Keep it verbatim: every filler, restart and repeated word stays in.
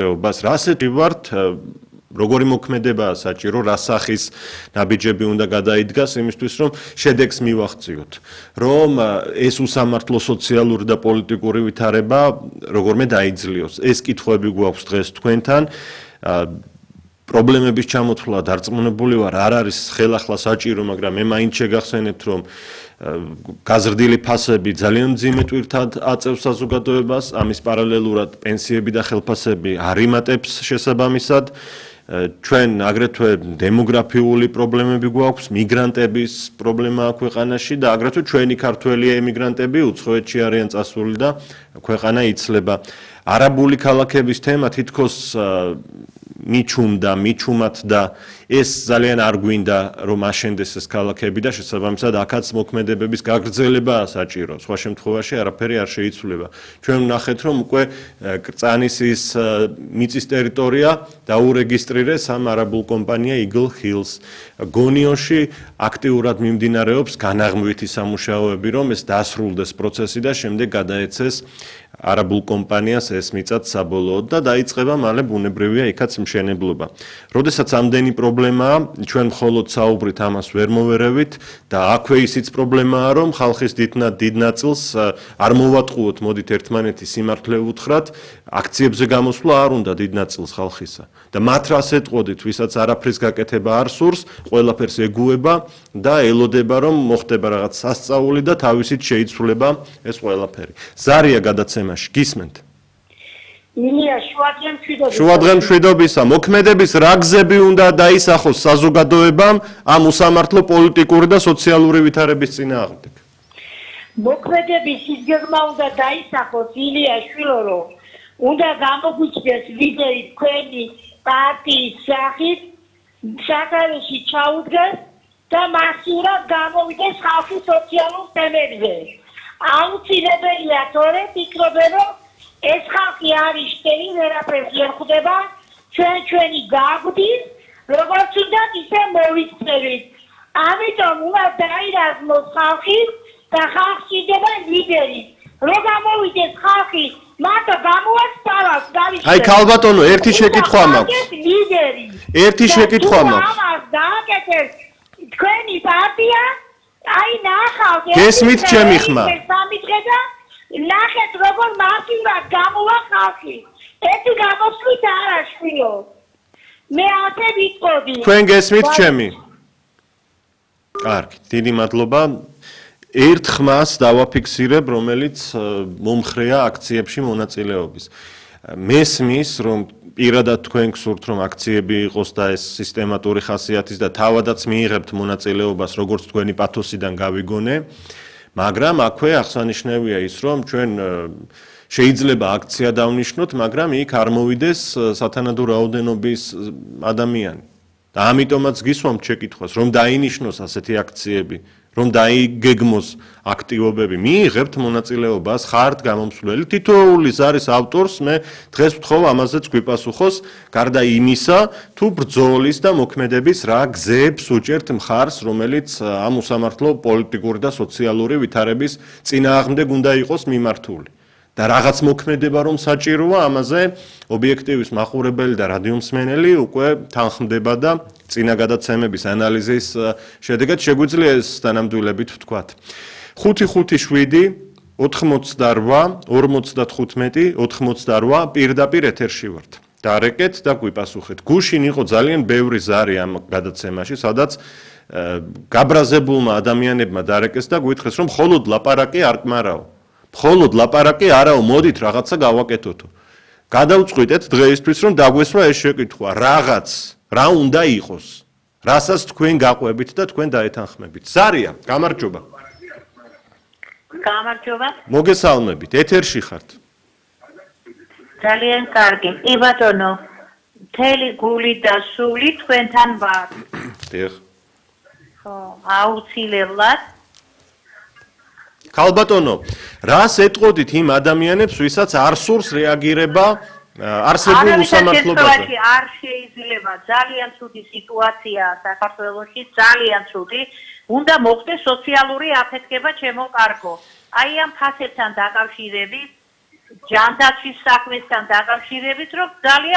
რასეთი ვართ როგორი მოქმედებაა საჭირო, რა სახის ნაბიჯები უნდა გადაიდგას იმისთვის, რომ შედეგს მივახციოთ, რომ ეს უსამართლო სოციალური და პოლიტიკური ვითარება როგორმე დაიძლიოს. ეს კითხვები გვაქვს დღეს თქვენთან. პრობლემების ჩამოთვლა დარწმუნებული ვარ, არ არის ხელახლა საჭირო, მაგრამ მე მაინც შეგახსენებთ, რომ გაზრდილი ფასები ძალიან მძიმე ტვირთად აწევს საზოგადოებას, ამის პარალელურად პენსიები და ხელფასები არ იმატებს შესაბამისად. ჩვენ აგრეთვე დემოგრაფიული პრობლემები გვაქვს, მიგრანტების პრობლემა აქვს ქვეყანაში და აგრეთვე ჩვენი ქართველი ემიგრანტები უცხოეთში არიან წასული და ქვეყანა იცლება. არაბული ქალაქების თემა თითქოს მიჩუმდა, მიჩუმათ და ეს ძალიან არ გვინდა რომ აშენდეს ეს ქალაქები და შესაბამისად აქაც მოქმედებების გაგრძელებაა საჭირო. სხვა შემთხვევაში არაფერი არ შეიცვლება. ჩვენ ვნახეთ რომ უკვე კრწანისის მიწის ტერიტორია დაურეგისტრირეს ამ არაბულ კომპანია Eagle Hills. გონიოში აქტიურად მიმდინარეობს განაღმვითი სამუშაოები, რომ ეს დასრულდეს პროცესი და შემდეგ გადაეცეს არაბულ კომპანიას ეს მიწაც საბოლოოდ და დაიწყება მალე ბუნებრივია იქაც მშენებლობა. როდესაც ამდენი პრობლემაა, ჩვენ მხოლოდ საუბრით ამას ვერ მოვერევით და აქვე ისიც პრობლემაა, რომ ხალხის დიდ ნაწილს არ მოვატყუოთ, მოდით ერთმანეთი სიმართლე უთხრათ, აქციებზე გამოსვლა არ უნდა დიდ ნაწილს ხალხისა. და მათ რას ეტყოდით, ვისაც არაფრის გაკეთება არ სურს, ყველაფერს ეგუება და ელოდება, რომ მოხდება რაღაც სასწაული და თავისით შეიცვლება ეს ყველაფერი. ზარია გადაცემაში, გისმენთ? ილია, შუადღე მშვიდობისა. შუადღე მშვიდობისა. მოქმედების რა გზები უნდა დაისახოს საზოგადოებამ ამ უსამართლო პოლიტიკური და სოციალური ვითარების წინააღმდეგ? მოქმედების ის გეგმა უნდა დაისახოს, ილია შვილო, უნდა გამოგვიჩნდეს ლიდერი თქვენი პარტიის სახით, სათავეში ჩაუდგეს და მასიურად გამოვიდეს ხალხის სოციალურ თემებზე. აუცილებელია თორე ფიქრობენ, რომ ეს ხალხი არის შტერი, ვერაფერს ვერ ხვდება, ჩვენ ჩვენი გაგვდის, როგორც უნდა ისე მოვიქცევით. ამიტომ უნდა დაირაზმოს ხალხი და ხალხში იდება ლიდერი. რო გამოვიდეს ხალხი, მარტო გამოაქვს თავას გავიშლებს. აი ქალბატონო, ერთი შეკითხვა მაქვს. ლიდერი. ერთი შეკითხვა მაქვს. ამას დააკეთეს თქვენი პარტია, აი ნახავთ. გესმით ჩემი ხმა? ნახეთ როგორ მასიურად გამოვა ხალხი. ერთი გამოსვლით არა შვილო. მე ასე ვიტყოდი. თქვენ გესმით ჩემი? კარგი, დიდი მადლობა. ერთ ხმას დავაფიქსირებ, რომელიც მომხრეა აქციებში მონაწილეობის. მესმის, რომ პირადად თქვენ გსურთ, რომ აქციები იყოს და ეს სისტემატური ხასიათის და თავადაც მიიღებთ მონაწილეობას, როგორც თქვენი პათოსიდან გავიგონე. მაგრამ აქვე აღსანიშნავია ის, რომ ჩვენ შეიძლება აქცია დავნიშნოთ, მაგრამ იქ არ მოვიდეს სათანადო რაოდენობის ადამიანი. და ამიტომაც გისვამთ შეკითხვას, რომ დაინიშნოს ასეთი აქციები, რომ დაიგეგმოს აქტივობები, მიიღებთ მონაწილეობას, ხართ გამომსვლელი, თითოეულის არის ავტორს, მე დღეს ვთხოვ ამაზეც გვიპასუხოს, გარდა იმისა, თუ ბრძოლის და მოქმედების რა გზებს უჭერთ მხარს, რომელიც ამ უსამართლო პოლიტიკური და სოციალური ვითარების წინააღმდეგ უნდა იყოს მიმართული. და რაღაც მოქმედება რომ საჭიროა, ამაზე ობიექტივის მაყურებელი და რადიომსმენელი უკვე თანხმდება და წინა გადაცემების ანალიზის შედეგად შეგვიძლია ეს თანამდულებით ვთქვათ. ხუთი ხუთი შვიდი ოთხმოცდარვა ორმოცდათხუთმეტი ოთხმოცდარვა პირდაპირ ეთერში ვართ. დარეკეთ და გვიპასუხეთ. გუშინ იყო ძალიან ბევრი ზარი ამ გადაცემაში, სადაც გაბრაზებულმა ადამიანებმა დარეკეს და გვითხრეს, რომ მხოლოდ ლაპარაკი არ კმარაო. მხოლოდ ლაპარაკი არაო, მოდით რაღაცა გავაკეთოთო. გადავწყვიტეთ დღეისთვის, რომ დაგვესვა ეს შეკითხვა, რაღაც, რა უნდა იყოს, რასაც თქვენ გაყვებით და თქვენ დაეთანხმებით. ზარია, გამარჯობა. გამარჯობა. მოგესალმებით, ეთერში ხართ. ძალიან კარგი. კი ბატონო, მთელი გული და სული თქვენთან ვარ. დიახ. ხო, აუცილებლად. ქალბატონო, რას ეტყოდით იმ ადამიანებს, ვისაც არ სურს რეაგირება არსებულ უსამართლობაზე? არ შეიძლება, ძალიან ცუდი სიტუაციაა საქართველოში, ძალიან ცუდი. უნდა მოხდეს სოციალური აფეთქება, ჩემო კარგო. აი ამ ფასებთან დაკავშირებით ჯანდაცვის საქმესთან დაკავშირებით, რომ ძალიან